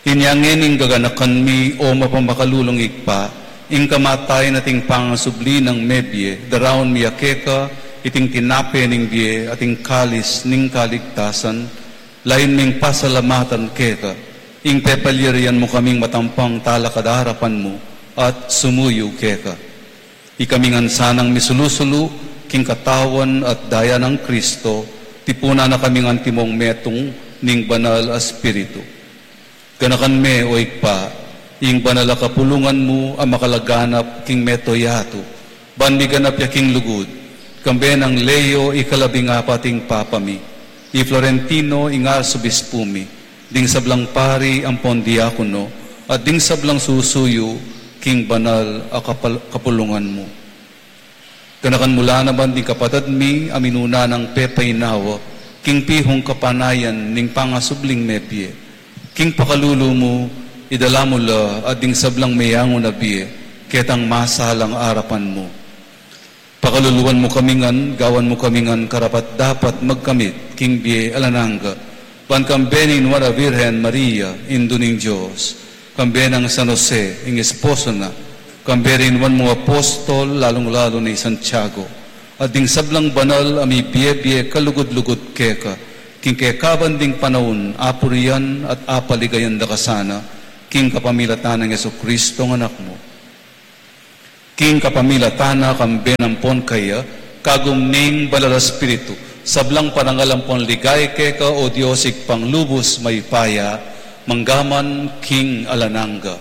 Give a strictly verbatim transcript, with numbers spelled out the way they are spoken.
Inya ngeni, gaganakan mi, o mapamakalulung Ibpa, ing kamatayan at ing pangasubli nang mebie, daraun mi keka iting tinape ning bie at ing kalis ning kaligtasan, layun ming pasalamatan keka, ing pepalyarian mu kaming matampang talakad king arapan mu at sumuyu keka. Ikami ngan sanang misulu-sulu king katawan at daya nang Kristo, tipunan na kami ngan timong metung ning Banal a Espiritu. Ganakan me, o Ibpa, ing banal a kapulungan mu a makalaganap king mabilug a yatu, ban miganap ya king lugud, kambe nang Leo ikalabing apat ing Papa mi, i Florentino ing Arsobispu mi, ding sablang pari ampon diakono, at ding sablang susuyu king banal a kapal-, kapulungan mu. Ganakan mu la naman ding kapatad mi a minuna nang pepainawa king pihung kapanayan ning pangasubling mebie. King pakalulu mu, idala mu la at ding sablang meyangu na bie ketang masalang arapan mu. Pakaluluan mu kami ngan, gawan mu kami ngan karapat-dapat magkamit king bie alang angga, ban kambe ning Nuan a Virgen Maria, Indu ning Dios, kambe nang San Jose, ing esposo na, kambe ring nuan mung apostol, lalung-lalu na i Santiago, at ding sablang banal a mibie-bie kalugud-lugud keka, king kekaban ding panaun, apurian at apaligayan da ka sana, king kapamilatan nang Jesucristo a Anak mu. King kapamilatan na, kambe na ampon kaya, kagum ning Banal a Espiritu, sablang parangal ampon ligaya keka, o Dios Ibpang lubus mayupaya, mangga man king alang angga.